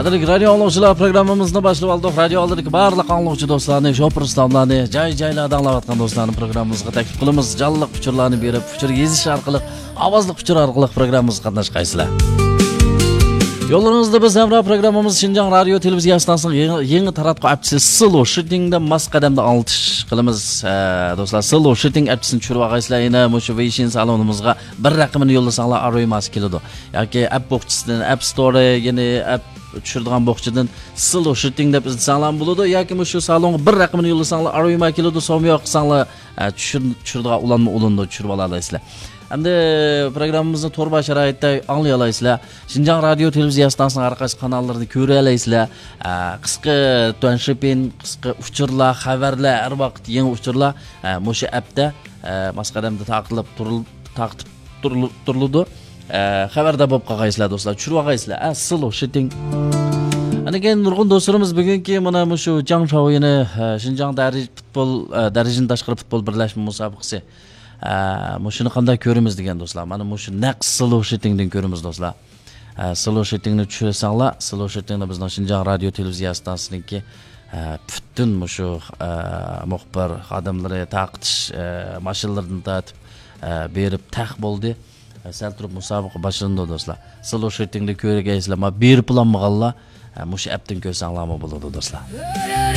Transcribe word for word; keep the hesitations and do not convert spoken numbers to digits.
قەدىرلىك رادىيو ئاڭلىغۇچىلار، پروگراممىمىزنى باشلاپ ئالدۇق. رادىيو ئالدىدىكى بارلىق ئاڭلىغۇچى دوستلارنى، شوپۇر ئۇستازلارنى، جاي-جايلاردا ئاڭلاۋاتقان دوستلارنى پروگراممىمىزغا تەكلىپ قىلىمىز. جانلىق ئۇچۇرلارنى بېرىپ، ئۇچۇر يېزىش ئارقىلىق، ئاۋازلىق ئۇچۇر ئارقىلىق پروگراممىمىزغا قاتناشقايسىلەر. يوللىرىڭىزدا بىز ھەمراھ پروگراممىمىز شىنجاڭ رادىيو تېلېۋىزىيە ئىستانسىسىنىڭ يېڭى، يېڭى تاراتقۇ ئەپچىسى سلو شىتىڭدا ماس قەدەمدە ئاڭلىتىش قىلىمىز. ئە، دوستلار، سلو شىتىڭ ئەپچىسىنى چۈشۈرۈۋالغايسىلەر. يەنە مۇشۇ ۋېيشىن سالونىمىزغا بىر رەقىمىنى يوللىساڭلار، ئاروي ماس كېلىدۇ. ياكى ئەپ بوخچىسىدىن، ئەپ ستورى، يەنى ئەپ چۈشۈرىدىغان بوخچىدىن سلو شىتىڭ دەپ ئىزدىسەڭلارمۇ بولىدۇ. ياكى مۇشۇ سالونغا بىر رەقىمىنى يوللىساڭلار، ئاروي ماس كېلىدۇ. سوميا قىلساڭلار، ئە، چۈشۈر-، چۈشۈرىدىغان ئۇلانما ئۇلىنىدۇ، چۈشۈرۈۋالالايسىلەر. ئەمدى پروگراممىمىزنى تور بار شارائىتتا ئاڭلىيالايسىلەر. شىنجاڭ رادىيو تېلېۋىزىيە ئىستانسىسىنىڭ ھەر قايسى قاناللىرىنى كۆرەلەيسىلەر. ئە، قىسقا تۇەنشىپىن، قىسقا ئۇچۇرلار، خەۋەرلەر، ھەر ۋاقىت يېڭى ئۇچۇرلار، ئە، مۇشۇ ئەپتە، ئە، ماس قەدەمدە تارقىتىپ تۇرۇل-، تارقىتىپ تۇرۇل-، تۇرۇلىدۇ. ئە، خەۋەردار بولۇپ قالغايسىلەر، دوستلار. چۈشۈرۈۋالغايسىلەر. ئە، سلو شىتىڭ. ئاندىن كېيىن نۇرغۇن دوستلىرىمىز بۈگۈنكى مانا مۇشۇ جاڭ شاۋيىنى، ئە، شىنجاڭ دەرىجە پۇتبول، ئە، دەرىجىدىن تاشقىرى پۇتبول بىرلەشمە مۇسابىقىسى. ئە، مۇشۇنى قانداق كۆرىمىز دېگەن دوستلار. مانا مۇشۇ نەق سلو شىتىڭدىن كۆرىمىز دوستلار. ئە، سلو شىتىڭنى چۈشۈرسەڭلار، سلو شىتىڭنى بىزنىڭ شىنجاڭ رادىيو تېلېۋىزىيە ئىستانسىسىنىڭكى، ئە، پۈتۈن مۇشۇ، ئە، مۇخبىر خادىملىرى تارقىتىش، ئە، ماشىنىلىرىدىن تارتىپ، ئە، بېرىپ تەق بولدى. ئە، سەل تۇرۇپ مۇسابىقە باشلىنىدۇ دوستلار. سلو شىتىڭنى كۆرگەيسىلەر، ما بېرىپ بولالمىغانلار، ئە، مۇشۇ ئەپتىن كۆرسەڭلارمۇ بولىدۇ دوستلار.